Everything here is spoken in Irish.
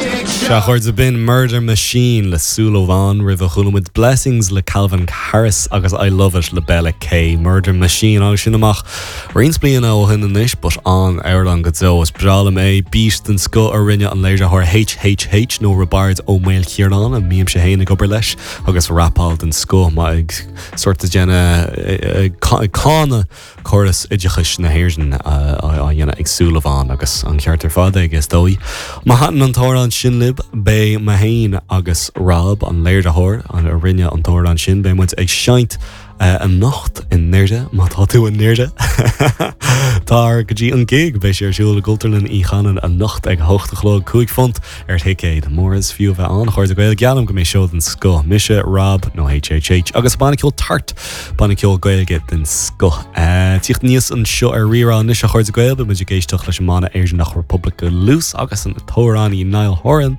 Sea, a chairde, b'in Murder Machine le Súil Amháin roimhe chuala muid Blessings le Calvin Harris agus I Love It le Bella K. Murder Machine tháinig sin amach roinnt bliana ó shin anois but an-amhrán go deo. Is breá liom é. Beat den scoth a rinne an léiritheoir HHH nó Roibeard Ó Maoilchiaráin a mbímse féin ag obair leis agus rapáil den scoth má ag sort of déanamh ag cáineadh córas oideachais na hÉireann á dhéanamh ag Súil Amháin agus an ceart ar fad aige is dóigh. Má thaitin an t-amhrán sin libh, beidh mé féin agus Rob, an léiritheoir a rinne an t-amhrán sin, beidh muid ag seinnt anocht i nDoire, má tá tú i nDoire. Tar go dtí an gig, beidh sé ar siúl i gCultúrlann Uí Chanainn anocht ag 8 a chlog, £5 ar thicéad. Mór is fiú a bheith ann, a chairde Gael, geallaim go mbeidh seó den scoth. Mise, Rob, nó HHH, agus banna ceoil Tart! Banna ceoil Gaeilge den scoth. Tíocht aníos anseo ar Rí-Rá anois a chairde Gael, beidh muid ag éisteacht leis an mbanna Éireannach Republic Loose agus an t-amhránaí Niall Horan.